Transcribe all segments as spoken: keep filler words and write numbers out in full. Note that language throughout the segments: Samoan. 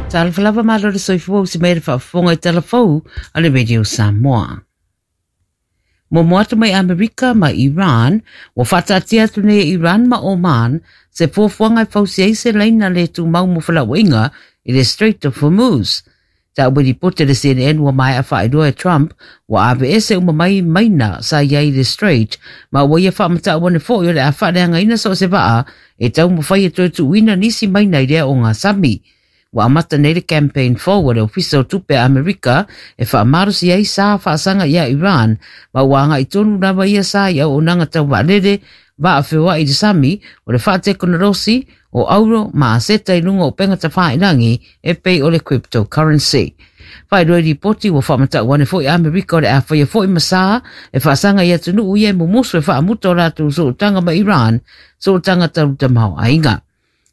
Talofa lava malo le soifua usi mai le faafofoga i talafou a le Radio Samoa. Muamua atu mai Amerika ma Iran, ua faataatia atu nei e Iran ma Oman se fuafuaga e fausia ai se laina le tumau mo felauaiga i le Strait of Hormuz. Taua i lipoti a le C N N ua maea faailoa e Trump ua aveese uma mai maina sa i ai i le Strait ma ua ia faamatau ane foi o le a faaleagaina so o se vaa e taumafai e toe tuuina nisi maina i lea ogasami. Ua amata nei le campaign forward e Ofisa o Tupe a Amerika e faamalosi ai sa faasaga ia Iran ma ua agai tonu lava ia sa i auaunaga tau vaalele, vaa feoai i le sami, o le faatekonolosi, o auro ma aseta i luga o upega tafailagi e pei o le cryptocurrency. Faailoa i lipoti ua faamatau ane foi Amerika o le a faia foi ma sa e faasaga i atunuu ia e mumusu e faamuta o latou sootaga ma Iran, sootaga talu tamaoaiga.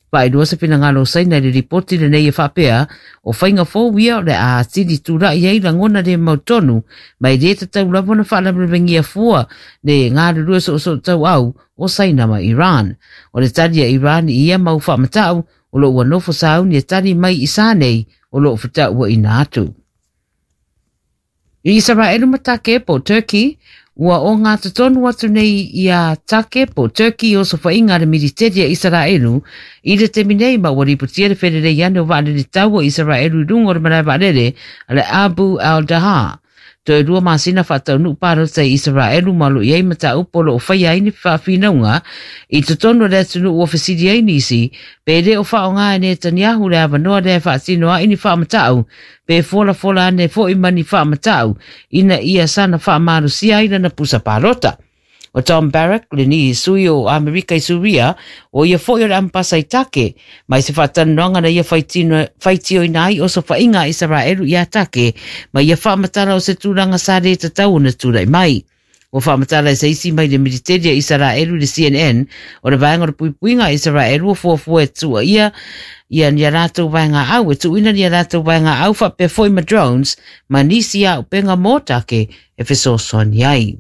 Faailoa se finagalo o Saina i le lipoti lenei e faapea o faiga fou ia o le a atili tulai ai lagona le mautonu ma e le tatau lava ona faalavelavegia fua le galulue soosoo tauau o Saina ma Iran. O le tali a Iran i ia mau faamatau o lo ua nofo sauni e tali mai i sa nei o loo fetauaina atu. I Isaraelu ma Take po Turkey, ua ogatotonu atu nei ia Take po Turkey i osofaiga a le militeri a Isaraelu i le taimi nei ma ua lipotia le felelei ane o vaalele taua o Isaraelu i luga o le malae vaalele a le Abu al-Dahar. Toe lua masina faataunuu palota i Isaraelu ma o lo o i ai mataupu o lo o faia ai ni faafinauga i totonu o le atunuu ua fesili ai nisi pe le o faaaoga e Netanyahu le avanoa lea e faatino ai ni faamatau pe folafola ane foi ma ni faamatau ina ia saga faamalosia ai lana pusa palota. O Tom Barrack, lenei sui o Amerika i Suria, o ia foi o le ambasa i Take, mai se faatalanoaga na ia faitioina ai osofaiga a Isaraelu ia Take, ma ia faamatala o se tulaga sa le tatau ona tulai mai. Ua faamatala e se isi mai le militeri a Isaraelu i le C N N, o le vaega o le puipuiga a Isaraelu ua fuafua e tuuaia ia ni a latou vaega au, e tuuina ni a latou vaega au faapea foi ma drones, ma nisi auupega mo Take e fesoasoani ai.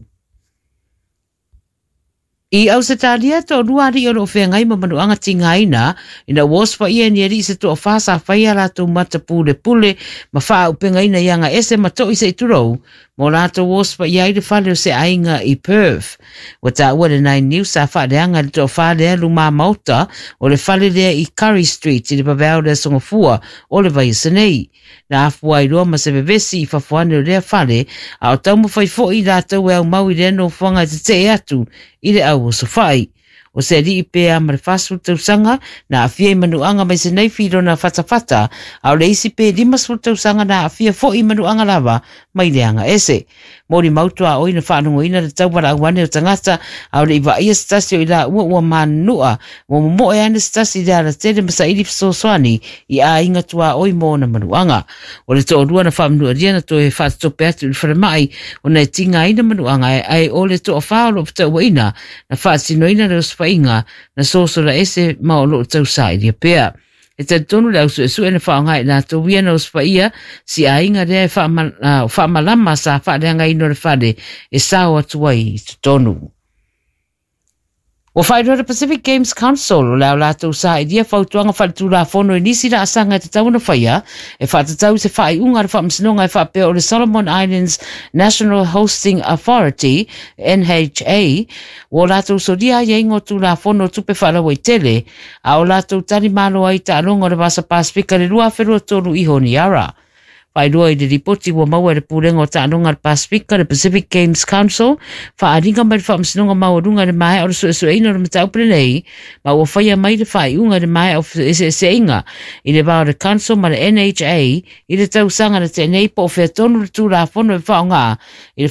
I Ausetalia toalua alii o loo feagai ma manuaga tigaina ina ua osofaia e ni alii se toafā sa faia latou mata pulepule ma faaupegaina i aga ese ma to'i se'i tulou mo latou osofaia ai le fale o se aiga i Perth. Ua taua le Nine News sa faaleaga i le toafā lea lumā maota o le fale lea i Curry Street i le vaveao le aso Gafua o le vaiaso nei. Na afua ai loa ma se vevesi i fafo ane o lea fale, a o taumafai foi i latou e aumau i lea nofoaga e tetee atu i le au osofai. O se alii pe a ma le fasefulu tausaga na aafia i manuaga mai se naifi i lona fatafata, a o le isi pe limasefulu tausaga na aafia foi i manuaga lava mai le aga ese. Molimau tuaoi na faalogoina le taualaau ane o tagata, a o le i vaaia se tasi o i laua ua manunua, ua momoe ane se tasi i le alatele ma saili fesoasoani i aiga tuaoi mo ona manuaga. O le toalua na faamanualia na toe faatatope atu i le falemai ona e tigaina manuaga ae o le toafā o loo fetauaina na faatinoina le osofaiga na sosola ese ma o loo tausailia pea. E talitonu le au suesue na faaaoga i latou ia na osofaia si aiga lea e faamalama sa faaleagaina o le fale e sao atu ai i totonu. Ua faailoa le Pacific Games Council o le a latou sailia fautuaga faaletulafono i nisi laasaga e tatau ona faia e faatatau i se faaiuga a le faamasinoga e faapea o le Solomon Islands National Hosting Authority N H A ua o latou solia aiaiga o tulafono o tupe faalauaitele a o latou talimalo ai i taaloga o le Vasa Pasifika i le lua afe lua tolu i Honiara. Faailoa i le lipoti ua maua e le Pulega o Taaloga a le Pasifika, le Pacific Games Council, faaaliga mai le Faamasinoga Maualuga i le maea o le suesueina o le mataupu lenei, ma ua faia mai le faaiuga i le maea o feeseeseaiga i le va o le Council ma le N H A i le tausaga na tea nei po o fea tonu le tulafono e faaaoga i le